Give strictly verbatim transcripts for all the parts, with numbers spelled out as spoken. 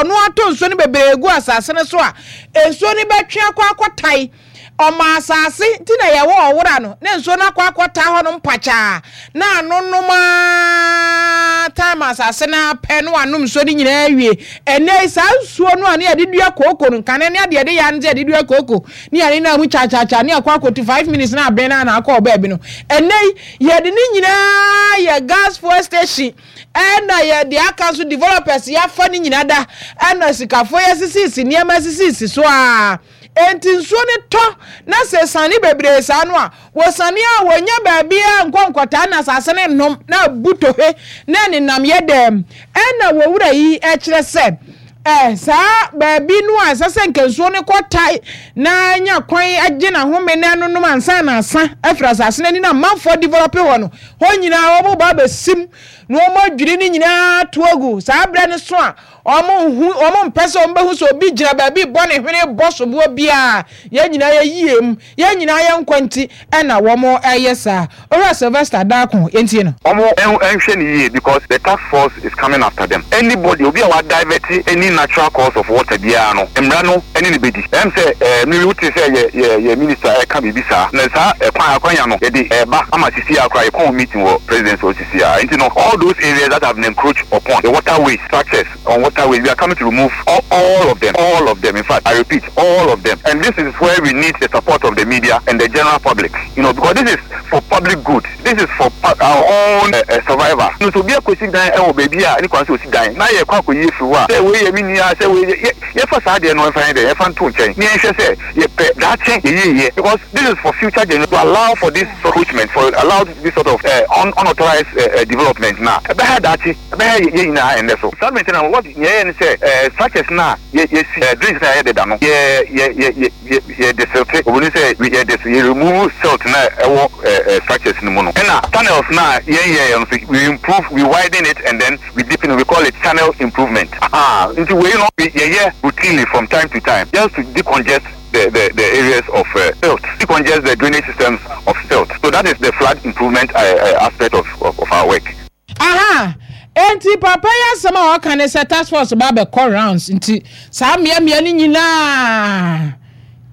Ɔno atɔ nsuo no bebree gu asase no so a, nsuo no bɛtwe akɔ akɔtae ɔma asase nti na yɛwɔ ɔwora no na nsuo no akɔ akɔtaa hɔ no mpakyaa na anonom a time asase no apɛ no anom nsuo no nyinaa awie. Ɛnɛ saa nsuo no a ne yɛde dua kooko no nkane ne adeɛ de yɛ ano sɛ yɛde dua kooko ne yɛde nam kyakyakya ne akɔ akɔtu five minutes na abɛn na akɔ ɔbaabi no, ɛnɛ yɛde ne nyinaa yɛ gas fuel station, ɛna yɛde aka nso developers yɛafa ne nyinaa da, ɛna sikafoɔ yɛsisisi nneɛma sisisi so a, enti nsuo no tɔ na sɛ sane bebree saa no a, wɔsane a wɔnya baabi a nkɔ nkɔtaa na asase no nnom na abu tohe na nenam yɛ dɛm. Ɛna wɔwura yi kyerɛ sɛ ɛ saa baabi no a ɛsɛ sɛ nka nsuo no kɔtae na nya kwan agye n'ahome na ɛnonom ansa na asa afiri asase no ani na amanfoɔ develop hɔ no, hɔ nyinaa wɔn ba abɛsim na wɔn adwiri no nyinaa to agu. Saa berɛ no so a wɔn nhu, wɔn mpɛ sɛ wɔn bɛhu sɛ obi gyina baabi bɔ ne hwene bɔ soboɔ biara. Yɛn nyinaa yɛ yie mu, yɛn nyinaa yɛ nkwa nti ɛna wɔn ɛyɛ saa. Owura Sylvester Daako, yɛntie no. Ɔmo ɛnhwɛ ne yie because the task force is coming after them. Anybody obi a wa divert any natural course of water biara no, mmara no ɛne ne bedi. Ɛm sɛ ɛɛ mi wote sɛ yɛ yɛ yɛ minister ɛka biribi saa na saa ɛkwan akwanya no yɛde ɛɛba ama sisi akora yɛ kɔn meeting wɔ presidency wɔ sisi a. Nti no, all those areas that have been encroached upon the waterways, structures on waterways, we are coming to remove all, all of them, all of them. In fact, I repeat, all of them. And this is where we need the support of the media and the general public you know because this is for public good, this is for our own uh, uh, survival. No so obi akɔsi dan ɛwɔ baabi a ne kwan sɛ osi dan na yɛ kɔ akɔyi efiri hɔ a, sɛ wei yɛ mi nua, sɛ wei yɛ yɛfa saa deɛ no, ɛmfa yɛn dɛ yɛfa nto nkyɛn ne yɛnhwɛ sɛ yɛpɛ daakye yɛyie yɛ, because this is for future generation. To allow for this encroachment, for allow this sort of uh, un unauthorized uh, uh, development na ɛbɛha daakye, ɛbɛha yɛ nyinaa. Ɛnɛ so saa maintenance what yɛyɛ ne sɛ ɛɛ structures na yɛ yɛsi ɛɛ drains na yɛyɛ deda no, yɛ yɛ yɛ yɛ yɛ yɛ desilt. Obìnrin sɛ yɛ des yɛ remove silt na ɛwɔ ɛɛ ɛɛ structures no mu no, ɛna channels na yɛn yɛ yɛn nso, we improve, we widen it and then we deepen it. We call it channel improvement. Ah, nti wei no yɛyɛ routinely from time to time just to decongest the, the, the areas of uh, silt, decongest the drainage systems of silt. So that is the flood improvement uh, uh, aspect of, of, of our work. Aha, enti papa yi asɛm a ɔka ne sɛ task force ba bɛkɔ rounds, nti saa mmeammea no nyinaa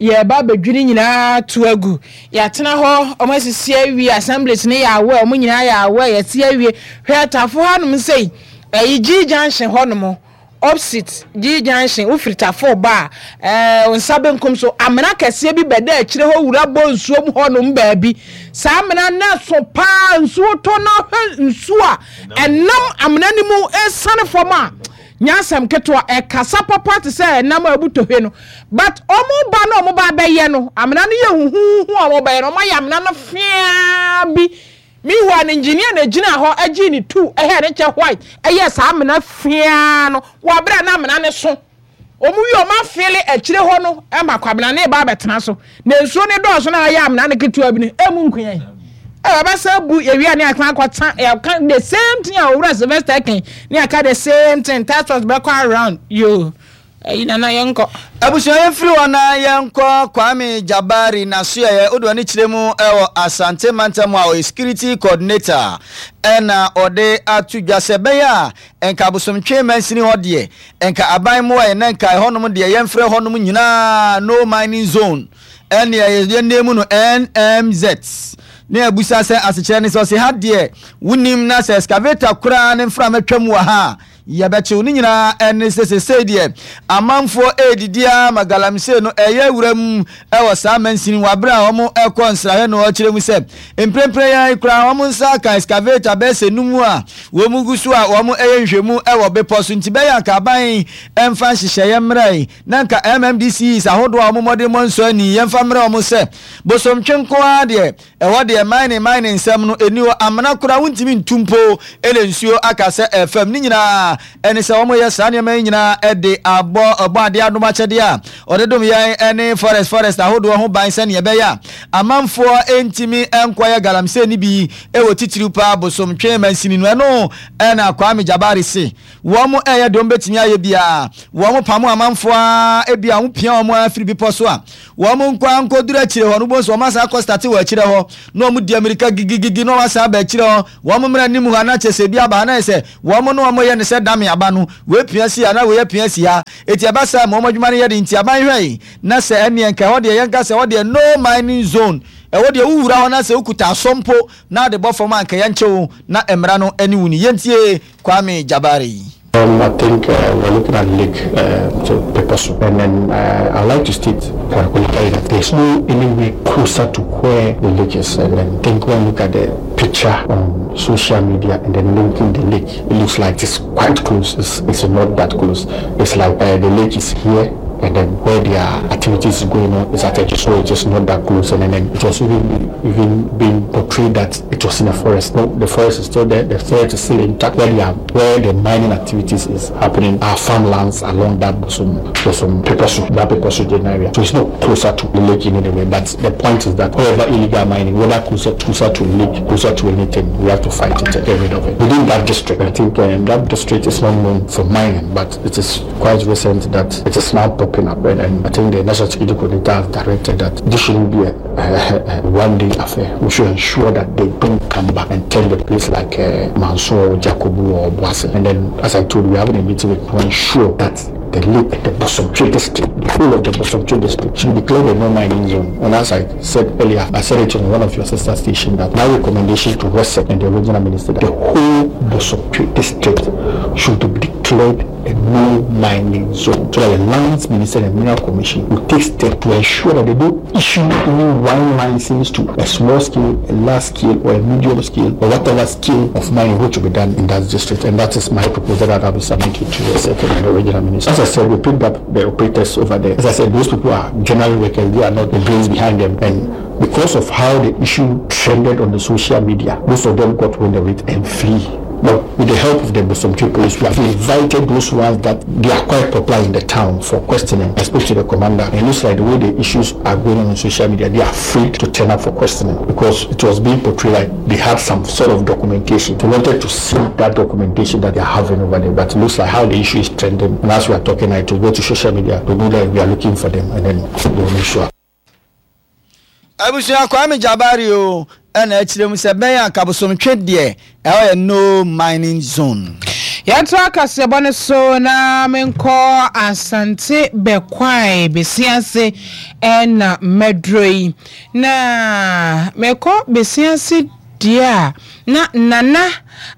yɛba abɛdwiri nyinaa to agu. Yɛatena hɔ, ɔmo asisi awie, assemblies ne yɛ awɔ, ɔmo nyinaa yɛ awɔ, yɛte awie. Hwɛ Tafo hanom sɛi, ɛyi G Junction hɔnom, opposite G Junction, wofiri Tafo ba a, ɛɛ nsa benkum so, amena kɛseɛ bi bɛda akyire hɔ, wura bɔ nsuo mu hɔnom baabi. Saa amena no so paa, nsuo tɔ na hwɛ nsuo a ɛnam amena no mu esiane fam a, nyasɛm ketewa, ɛkasa papa te sɛ ɛnam a ebu tohwe no. But ɔmo ba na ɔmo ba bɛyɛ no, amena no yɛ huhuhu a ɔmo bɛyɛ no, ɔmo ayɛ amena no fiaa bi. Meanwhile, engineer na gyina hɔ agye ne tu ɛhɛ ne kyɛ white ɛyɛ saa amena fiaa no wɔ abere a na amena ne so. Ɔmo wi, ɔmo afeele akyire hɔ no ɛma kwabena ne ba abɛtena so na nsuo ne dɔɔso na ayɛ amena ne ketewa bi no emu nkunya yi ɛ ɔbɛsɛ bu ewia ne akwan akɔta. Ɛka the same thing a Owura Sylvester kan ne aka the same thing. Task force bɛkɔ around yo. Ɛyi nana, yɛn kɔ. Abusua, yɛmfiri hɔ na yɛnkɔ Kwame Jabari n'asoɛyɛ wode ɔne kyerɛ mu ɛwɔ Asante mantam a ɔyɛ security coordinator, ɛna ɔde ato dwa sɛ ɛbɛyɛ a nka Abosomtwe mansini hɔ deɛ, nka aban mmoa yɛ na nka ɛhɔnom deɛ yɛmfrɛ hɔnom nyinaa no mining zone, ɛne yɛnne mu no N M Z. Ne abusa sɛ asekyerɛ ne sɛ ɔse ha deɛ wonim na sɛ excavator koraa ne mframa twam wɔ ha a, yɛbɛkyew ne nyinaa. Ɛne sɛ sesei deɛ amanfoɔ ɛredidi a ma galamsey no ɛyɛ wura mu ɛwɔ saa mansini wɔ abere a wɔn ɛkɔ nsrahwɛ no. Ɔkyerɛ mu sɛ mprempren yɛn koraa wɔn nsa aka excavator bɛyɛ sɛ num a wɔn gu so a wɔn ɛyɛ nhwɛmu ɛwɔ bepɔ so, nti bɛyɛ anka aban ɛmfa nhyehyɛeɛ mmerɛ yi na nka M M D Cs ahodoɔ a wɔn mmɔden mmɔ nsɔ ani yɛmfa mmerɛ wɔn sɛ Bosomtwe nko ara deɛ ɛhɔ deɛ mining mining nsɛm no ɛni hɔ. Amena koraa wontumi ntu mpo ɛna nsuo aka sɛ ɛfam ne nyinaa. Ɛne sɛ wɔyɛ saa nneɛma yi nyinaa ɛde abɔ ɛbɔ adeɛ adom akyɛdeɛ a ɔde dom yɛn ɛne forest forest ahodoɔ ho ban sɛneɛ ɛbɛyɛ a amanfoɔ ɛntumi ɛnkɔyɛ galamsey no bi ɛwɔ titiriw paa Bosomtwe mansini no. Ɛno ɛna Kwame Jabari se wɔn ɛyɛ deɛ wɔn bɛtumi ayɛ biara. Wɔn pamo amanfoɔ a ebi a wɔn pia wɔn afiri bepɔ so a wɔn nkɔ nkɔduru akyire hɔ no, wobɛhu sɛ wɔn asan akɔ start wɔ akyire hɔ na wɔn di amirika gigigigi na wɔn asan aba akyire hɔ. Wɔn mmerɛ anim hɔ anakyɛ sɛ ebi aba ha na yɛ sɛ wɔn no wɔn yɛ ne sɛ dame aba no wei pia si ha na wei apia si ha eti ɛba saa ma wɔn adwuma no yɛ de nti aban hwɛ yi na sɛ ɛneɛ nka ɛhɔ deɛ yɛnka sɛ ɛhɔ deɛ no mining zone ɛwɔ deɛ wowura hɔ na sɛ wokuta asɔ mpo na ade bɔ fam a nka yɛnkyɛw na mmara no ani wo ni. Yɛntie Kwame Jabari. Um, I think uh, we're looking at Lake uh, so Beposo, and then uh, I'd like to state categorically that there's no any way closer to where the lake is. And then I think when you look at the picture on social media and then linking the lake, it looks like it's quite close. It's, it's not that close. It's like uh, the lake is here, and then where their activities is going on is at a, so it's just not that close. And then, then it was even, even being portrayed that it was in a forest. No, the forest is still there. The forest is still intact. Where, they are, where the mining activities is happening are farmlands along that Bosom, Bosom, Peposo, that Peposo area. So it's not closer to the lake in any way. But the point is that wherever illegal mining, whether closer, closer to lake, closer to anything, we have to fight it and get rid of it. Within that district, I think um, that district is not known for mining, but it is quite recent that it is now popping up, and, and I think the National Security Coordinator have directed that this shouldn't be a, a, a one-day affair. We should ensure that they don't come back and turn the place like uh, Mansour, Jacobu or Boise. And then, as I told you, we're having a meeting to ensure that the lake, the Bosomtwe district, the whole of the Bosomtwe district should declare a no mining zone. And as I said earlier, I said it on one of your sister stations that my recommendation to REGSEC and the regional minister that the whole Bosomtwe district should be declared a no mining zone, so that the Lands Minister and Mineral Commission will take steps to ensure that they don't issue any one license to a small scale, a large scale, or a medium scale, or whatever scale of mining which will be done in that district. And that is my proposal that I will submit to the second and the regional minister. As I said, we picked up the operators over there. As I said, those people are generally workers, they are not the brains behind them. And because of how the issue trended on the social media, most of them got wind of it and flee. But with the help of the Bosomtwe police, we have invited those ones that they are quite popular in the town for questioning. I spoke to the commander, and it looks like the way the issues are going on on social media, they are afraid to turn up for questioning because it was being portrayed like they had some sort of documentation. They wanted to see that documentation that they are having over there, but it looks like how the issue is trending. And as we are talking, I to go to social media to know that we are looking for them, and then they will make sure. Abusua Kwame Jabari o ɛna akyerɛ mu sɛ bɛyɛ akabosomtwe deɛ ɛhɔ yɛ no mining zone. Yɛnto akaseɛbɔ no so na menkɔ Asante Bɛkwae Besiase ɛna mmɛduro yi na mekɔ Besiase deɛ a na Nana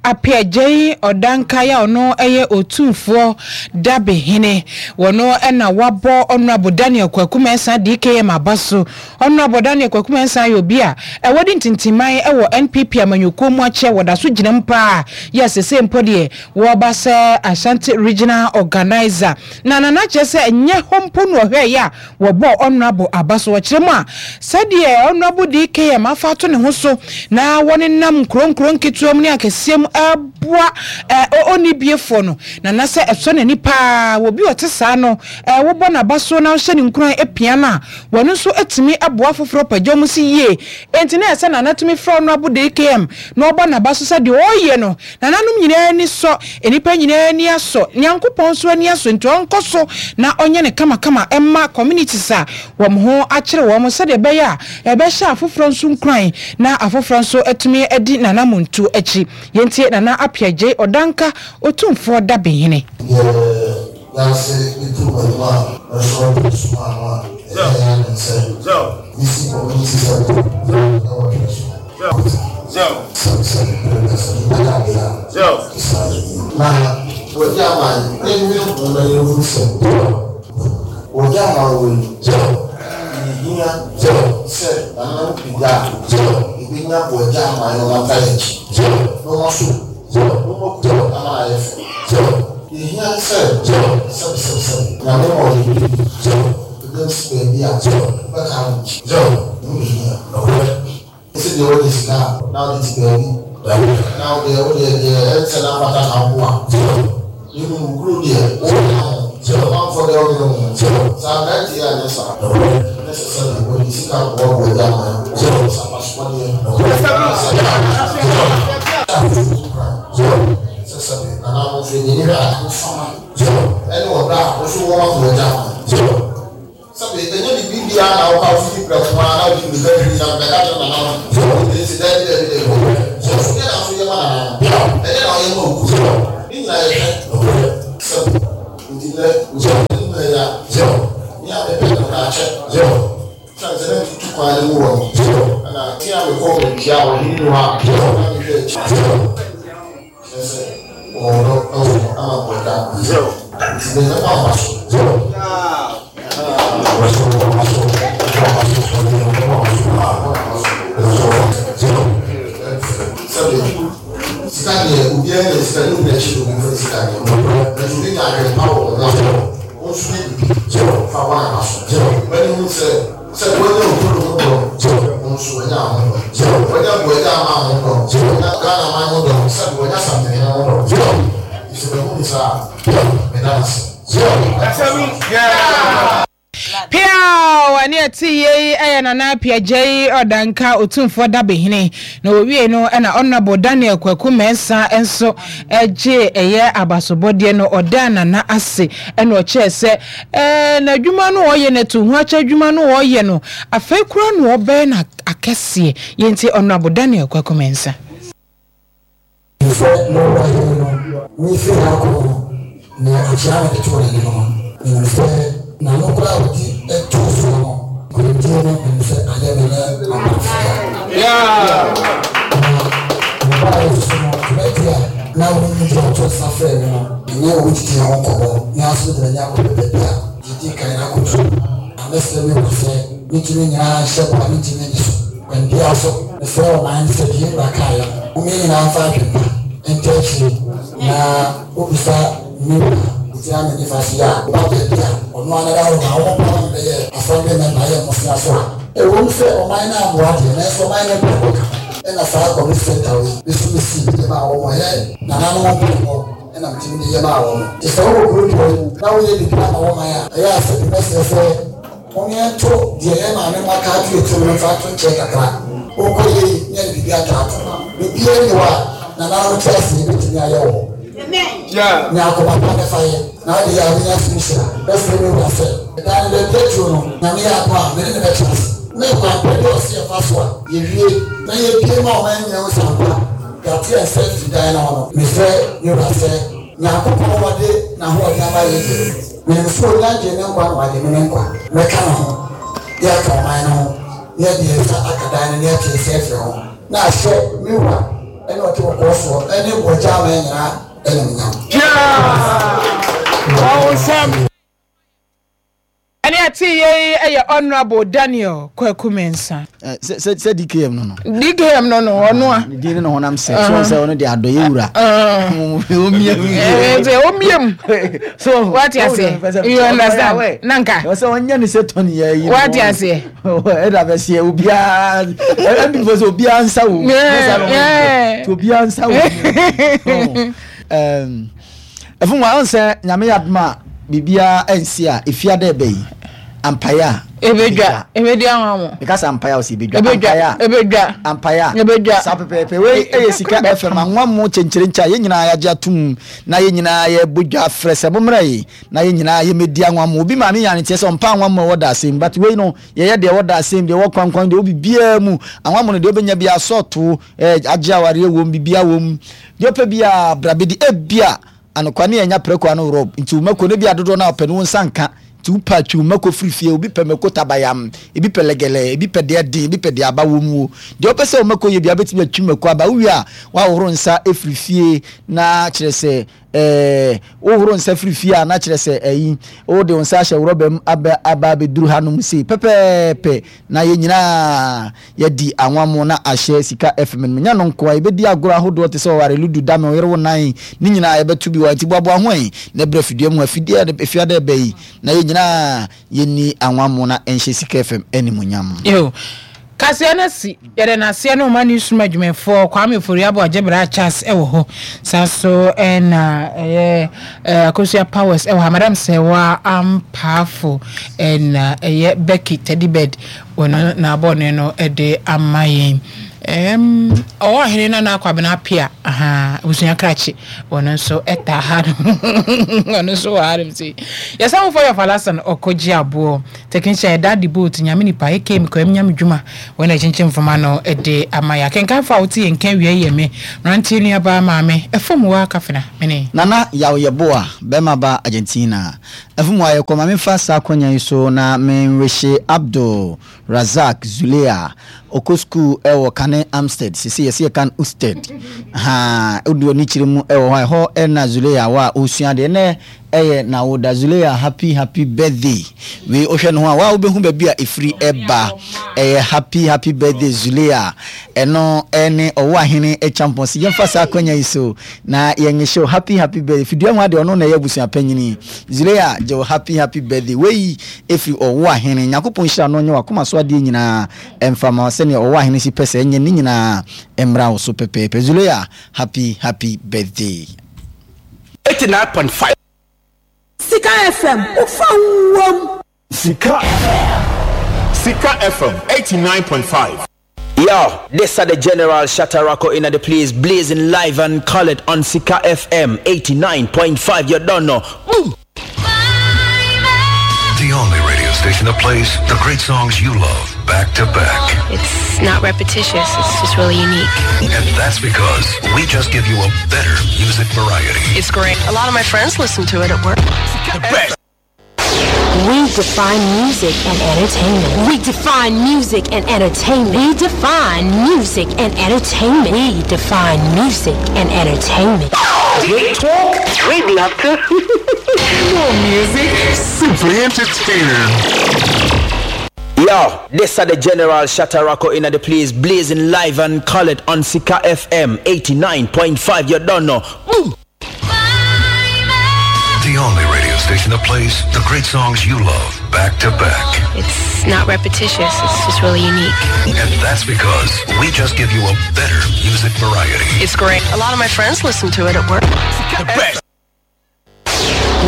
Apiagyei Ɔdanka a ɔno ɛyɛ Otumfoɔ Dabehene wɔno ɛna wabɔ Honourable Daniel Kwaku Mensah D K M aba so. Honourable Daniel Kwaku Mensah yɛ obi a ɛwɔ de ntintiman ɛwɔ N P P amanyɔkuo mu akyɛ wɔda so gyina mu paa yɛ sese mpo deɛ wɔba sɛ Ashanti Regional Organizer na Nana kyerɛ sɛ ɛnyɛ hɔ mpo no ɔhwɛ yɛ a wɔbɔ Honourable aba so. Wɔkyerɛ mu a sɛdeɛ Honourable D K M afa ato ne ho so na wɔnenam nkuro nkuro nketewa mu ne akɛseɛ mu ɛboa ɛɛ ɔni biefoɔ no na na sɛ ɛsɔ n'ani paa wɔ bi ɔte saa no ɛɛ wɔbɔ n'aba so na ɔhyɛ ne nkuran apia no a wɔn nso atumi aboa foforɔ pagya mu si yie. Enti na ɛsɛ Nana tumi frɛ ɔno abo D K M na ɔbɔ n'aba so sɛ deɛ ɔreyɛ no nananom nyinaa ani sɔ, nnipa nyinaa ani asɔ, Nyankopɔn nso ani asɔ, nti ɔnkɔ so na ɔnyɛ ne kamakama ɛma communities a wɔn ho akyerɛ wɔn sɛdeɛ ɛbɛyɛ a ɛbɛhyɛ afoforɔ nso nkuran na afoforɔ nso atumi adi Nana Muntu akyi. Yɛntie Nana Apiagye Ɔdanka, Otumfoɔ Dabehene. Yɛase ne tu anim a ɛsɔ de suma ano a ɛyɛ yɛ ane sɛ bisi community center ɛwɔ Twɛ so sɛbisɛbi pɛrɛsɛ ɛyɛ adeɛ a saa na wɔgye ama yi ɛnwi ho na yɛhu sɛ wɔgye ama wɔ yi yɛhia sɛ nananom pagya a ebinya wɔgye ama yi wɔn ata yɛ akyi na wɔn so na wɔn kuro ama ayɛ fɛ. Yɛhia sɛ sɛbisɛbisɛbi Nyame ma ɔde bi ebi nsi baabi a bɛka no akyi ɛmu hia ɛsɛ deɛ wɔde sika na wɔde ti baabi na wɔde wɔde deɛ ɛnsɛ na afata na aboa ne mu kuro deɛ wɔde ho ɔmanfoɔ deɛ wɔde ho saa aberanteɛ a nyɛ saa ne sɛ sɛ wɔde sika boa wɔ agya ama yɛ sɛ abasoɔdeɛ sɛ sɛ nananom nso yɛ nipa ahofama ɛne ɔdɔ a woso wɔn afɔ agya ama sɛbi ɛnyɛ bibi biara na ɔka ofiri prɛko a na ɔdi mirika firi na bɛka kyerɛ nananom ɛdi dɛbi dɛbi dɛbi sɛ ɔso deɛ na so yɛ ma nananom ɛdeɛ na ɔyɛ ma oku ne nyinaa yɛ hwɛ. Sɛbi nti nɛ anim na yɛ a ne a mepɛ no naakyɛ sane sɛ na metutu kwan no mu wɔ no ɛna te a mekɔ baabi a ɔhene no a na mehwɛ akyi kyerɛ sɛ wɔwɔ dɔ ɛwɔ hɔ ama bɔda nti nɛ mɛbɔ aba so. Sɛbi sika deɛ obiara nya sika ne obi n'akyi na obi nfa sika deɛ nanso obi nya adwene pa wɔ wɔn ho a wɔn nso yɛ bibi fa wɔn aba so bɛni hu sɛ sɛ wɔanya okuro ho dɔ, wɔn nso wɔanya ho dɔ, wɔanya buagya ama ho dɔ, wɔanya Ghana man ho dɔ, sɛbi wɔanya Asantehene ho dɔ. Sɛ bɛhu ne saa, meda ase. Piaw! Ɛne ɛte yei ɛyɛ Nana Apiagyei Ɔdanka Otumfoɔ Dabehene. Na wɔwie no ɛna Honorable Daniel Kwaku Mensah nso ɛgye ɛyɛ abasobɔdeɛ no, ɔdaa Nana ase ɛna ɔkyerɛ sɛ ɛɛ n'adwuma no ɔyɛ no to ho akyɛ adwuma no ɔyɛ no afei koraa na ɔbɛyɛ no akɛseɛ. Yɛnti Honorable Daniel Kwaku Mensah. Sɛ mowɔ hene no mefiri ha kɔ no, na akyea mede too n'anim no, menim sɛ n'ano koraa a wɔde too soɔ no, nkonimdie no, menim sɛ ayɛ me ne m'abamfo dea. Na mebaeɛ nso so no, dwumadie a na wɔnim deɛ ɔto nsa frɛɛ me no, me ne wɔn didii ho nkɔmmɔ, me ara nso mede m'ani akɔhwɛ baabi a yɛdi kan akɔduru. Na mɛsrɛ me wura sɛ mentumi nyinaa nhyɛ bɔ a mentumi nni so. Kwan biara so, mesrɛ ɔman no sɛ deɛ yɛn wura kaeɛ no, momma yɛn nyinaa mfa adwempa nta akyire, na wobisa me wura a ɔgyina me nifa so yi a, woba baabi a ɔno ara da hɔ na wɔn paa me bɛyɛ assembly member yɛ mmosea so a, ɛwom sɛ ɔman no ammoa deɛ, nanso ɔman no mpaebɔ ka ho. Ɛna saa community center wei, me nso mesii bi de maa wɔn, ɛyɛ nananom mpaebɔ ɛna metumi de yɛ maa wɔn. Nti sɛ wowɔ kuro dua yi mu na woyɛ biribi ama wo man a, ɛyɛ a sɛ bi mɛsrɛ sɛ momyɛnto deɛ yɛn maame mo aka ato yɛ tirim no mfa nto nkyɛn kakra. Wokɔ yei ne yɛde biribi ataato. Biribiara nni hɔ a nananom te ase yɛbɛtumi ayɛ wɔ hɔ. Nya akoma pa na fa yɛ, na wode yɛ a wobɛnya so nhyira. Mɛsrɛ me wura sɛ, dan no baabi aduro no, Nyame yɛ adom a, me ne no bɛtena ase. Ne kwan pa bi a ɔse yɛfa so a, yɛwie na yɛbue ma ɔman nyinaa hu sɛ ampa yɛate yɛn nsa afiri dan no ho no. Mesrɛ me wura sɛ, Nyankopɔn a ɔde n'ahoɔden ama yɛn deɛ, menim sɛ ɔnya gyee me nkwa na wagye me me nkwa. Mɛka ne ho, na yɛaka ɔman no ho, na yɛde yɛn nsa aka dan no, na yɛate yɛn nsa afiri ho, na ahyɛ me wura ne ɔte kɔkɔɔ soɔ ne bɔgya aman nyinaa animuonyam. Ɛne ɛte yei yɛ Honourable Daniel Kwaku Mensah. Sɛ sɛ sɛ D K M no no. D K M no no, ɔno a. Ne din ne ne honam sɛ so sɛ ɔno de adɔyɛ wura. Omia mu. Sɛ omia mu. So wate aseɛ, you understand, nanka. Sɛ ɔnyɛ ne sɛ tɔni yɛ yi. Wate aseɛ. Ɛda bɛ seɛ obiara ɛbi fɔ sɛ obiara nsa wo. Obiara nsa wo. Ɛfun wa ɔn sɛ Nyame yɛ adom a biribiara ɛnsi a efia dɛ ɛbɛ yi ampaeɛ a ebedwa ebedi ahwa mo. Meka sɛ ampaeɛ a ɔsɛ ebedwa. Ebedwa. Ampaeɛ a ebedwa. Ampaeɛ a ebedwa. Saa pɛpɛɛpɛ. Wei ɛyɛ Sika F M anwa mo kyɛnkyerɛnkyɛ a yɛn nyinaa yɛagye atom na yɛn nyinaa yɛbɔ dwa frɛ sɛ mommra yi na yɛn nyinaa yɛmmɛdi anwa mo. Obi maame nya ne teɛ sɛ ɔmpa anwa mo a ɛwɔ da asɛm, but wei no yɛyɛ deɛ ɛwɔ da asɛm, deɛ ɛwɔ kwankwan, deɛ ɛwɔ biribiara mu. Anwa mo no deɛ wobɛnya bi asɔɔto ɛɛ agye awareɛ wom, biribiara wom, deɛ wopɛ biara bra bɛdi. Ebia anokwa ne yɛnya prɛko ano rɔb nti wo mako no bi adodoɔ no a ɔpɛ no wo nsa nka nti wopɛ atwi wo mako firi fie. Obi pɛ mako tabayam, ebi pɛ lɛgɛlɛ, ebi pɛ deɛ den, ebi pɛ deɛ aba wɔ mu o. Deɛ wopɛ sɛ wo mako yɛ bia wobɛtumi atwi mako aba. Wowie a woahohoro nsa efiri fie na kyerɛ sɛ ɛɛ wohoro nsa firi fie a na kyerɛ sɛ ɛyi wode wo nsa ahyɛ rɔba mu aba aba abɛduru hanom sei pɛpɛɛpɛ na yɛn nyinaa yɛdi anwammo na ahyɛ Sika F M no mu. Nya no nko a yɛbɛdi agorɔ ahodoɔ te sɛ ɔware, ludu, dame, ɔyere wo nan ne nyinaa yɛbɛto bi wɔ nti boaboa ho ɛ na ɛbrɛ fidua mu afidie a efiada ɛbɛ yi na yɛn nyinaa yɛnni anwammo na ɛnhyɛ Sika F M animuonyam. Yo. Kaseɛ no si yɛde n'aseɛ no ɔma ne sum adwumayɛfoɔ Kwame Ofori-Abo Agyebra Charles ɛwɔ hɔ saa so ɛna ɛyɛ ɛɛ Akosua Powers ɛwɔ ha, Madam Sɛwa Ampaafo ɛna ɛyɛ Becky Teddy Bird wɔn n'abɔne no ɛde ama yɛn. Ɛɛm, ɔwɔ ɔhene Nana Kwabena Appiah, ahaa, abusua krakye, ɔno nso ɛtaa ha no, ɔno nso wɔ ha nom sei. Yɛsan ho fɔ yɛ Falasan ɔkɔgye aboɔ, technician yɛ Daddy Boat, Nyame nipa, aka Mekɔyam Nyame dwuma, wɔn na ɛkyenkyen mframa no de ama yɛ. Akenkanfo a wote yɛn nka awia yi yɛ me, mmeranteɛ nuabaa maame, ɛfam wɔ Akafena, mene. Nana Yaw Yeboah, bɛrima ba Argentina. Ɛfam wɔ ayɛkɔ, ma memfa saa akwanya yi so na menwehye Abdul Razak Zuleya, ɔkɔ sukuu wɔ Kane Amstead, sese yɛse yɛka no Usted. Ha, wode w'ani kyerɛ mu wɔ hɔ a, ɛhɔ na Zuleya wɔ a ɔresua adeɛ. Ɛnɛ ɛyɛ n'awoda. Zuleya, happy happy birthday. Wei wohwɛ ne ho a, waa wobɛhu baabi a ɛfiri ɛba. Ɛyɛ happy happy birthday Zuleya. Ɛno ɛne ɔwɔ ahene Kyampɔn. Si yɛmfa saa akwanya yi so na yɛnyehyɛ wo happy happy birthday. Fidua ho adeɛ ɔno na ɛyɛ abusua panyini. Zuleya gye wo happy happy birthday. Wei ɛfiri ɔwɔ ahene. Nyankopɔn nhyira no nyɛ wakoma so adeɛ nyinaa ɛmfa ma sɛnea ɔwɔ ahene si pɛ sɛ ɛnyɛ ne nyinaa mmra wo so pɛpɛɛpɛ. Zuleya, happy happy birthday. eighty-nine point five. Sika F M, wofa wom. Sika Sika F M eighty-nine point five. Yo, this are the General Shatarako in the place, blazing live and colored on Sika F M eighty-nine point five. You don't know. Boom! The only radio station that plays the great songs you love back to back. It's not repetitious, it's just really unique. And that's because we just give you a better music variety. It's great. A lot of my friends listen to it at work. The best. We define music and entertainment. We define music and entertainment. We define music and entertainment. We define music and entertainment. Great talk, great laughter, more music, simply entertaining. Yo, this are the General Shatarako in the place, blazing live and colored on Sika F M eighty-nine point five. You don't know. Boom! The only radio station that plays the great songs you love back to back. It's not repetitious, it's just really unique. And that's because we just give you a better music variety. It's great. A lot of my friends listen to it at work. The best.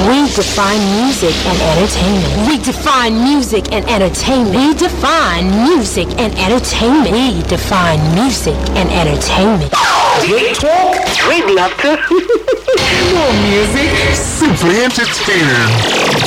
We define music and entertainment. We define music and entertainment. We define music and entertainment. We define music and entertainment. Great talk, great laughter, more music, simply entertaining.